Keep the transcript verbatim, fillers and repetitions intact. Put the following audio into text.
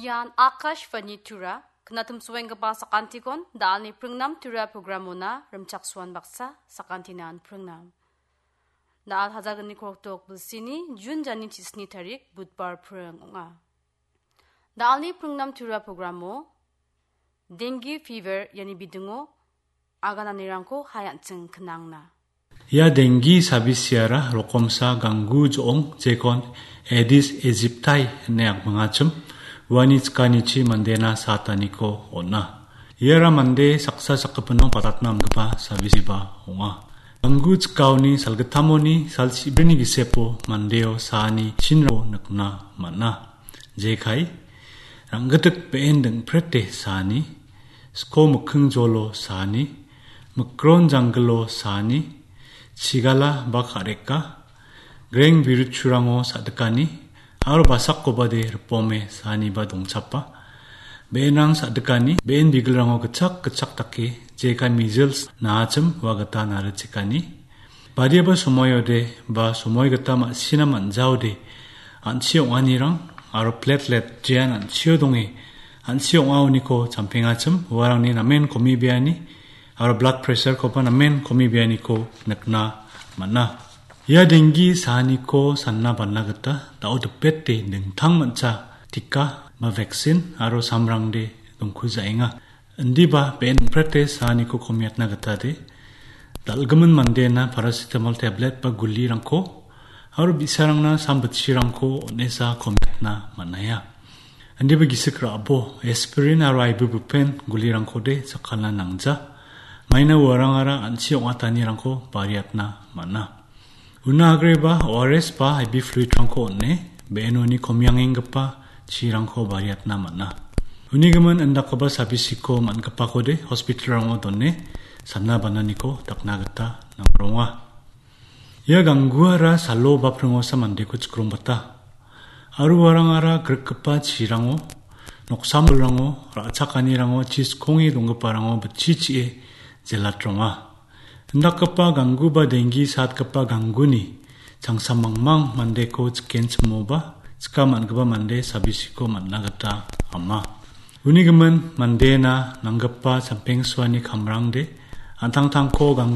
Ian Akashvani Tura, knatim suenggipa sakantikon, da·alni pringnam Tura programona rimchaksuan baksa sakantinan pringnam. Da·al hajalgni korokdok bilsini Jun jani chisni tarik Budbar pring ong·a. Da·alni pringnam Tura programo dengue fever iani bidingo agananirangko hai an·ching knangna. Ia dengue sabisiara rokomsa ganggu jo·ong jekon Aedes aegypti ine akmingachim uani chikanichi mandena sataniko on·a. Iara mande saksa sakgipino patatna amgipa sabisiba ong·a. Ganggu chikaoni salgittamoni sal chibrini gisepo mandeo saani chinro nikna man·a. Jekai, ranggitik be·en dingprete saani, sko mikking jolo saani, mikron janggilo saani, chigala ba ka·reka, greng biruchurango sa·dikani, aro basakobade ripome saaniba dongchapa. Be·enrang sa·dikani, be·en bigilrango gitchak gitchak dake, jekai measles naachim ua gita narichekani. Badiaba somoiode ba somoi gita ma·sina man·jaode an·chi ong·anirang aro platelet jean an·chio donge an·chi ong·aoniko champengachim uarangni namen komibeani aro blood pressure-koba namen komibeaniko nikna man·a. Ia dengue saaniko sanna bana gita da·o dipete dingtang mancha tika ba vaccine aro samrangde dongkujaenga. Indiba be·en dingprete saaniko komiatna gitade dal·gimin mandena paracetamol tablet ba gulirangko aro bi·sarangna sam bitchirangko on·esa komiatna man·aia. Indiba gisik ra·bo aspirin aro ibuprofen gulirangkode jakkalna nangja. Maina uarangara an·chi ong·atanirangko bariatna man·a. Una agreba O R S ba I V fluid-rangko on·e, be·enoni komiangenggipa chirangko bariatna man·a. Uni gimin indakgipa sabisiko man·gipakode hospital-rango done sanna bananiko dakna gita nangronga. Ia gangguara salo ba pringosa mandeko chikrongbata. Aro uarangara grikgipa chirango, noksamolrango, ra·chakanirango, chiskonge donggiparango bitchichie jelatronga. Indakgipa ganggu ba dengue satgipa gangguni changsa mangmang mandeko chikenchimoba, chika man·gipa mande sabisiko man·na gita ama. Uni gimin mandena nanggipa sampengsuani kamrangde an·tangtangko ganggu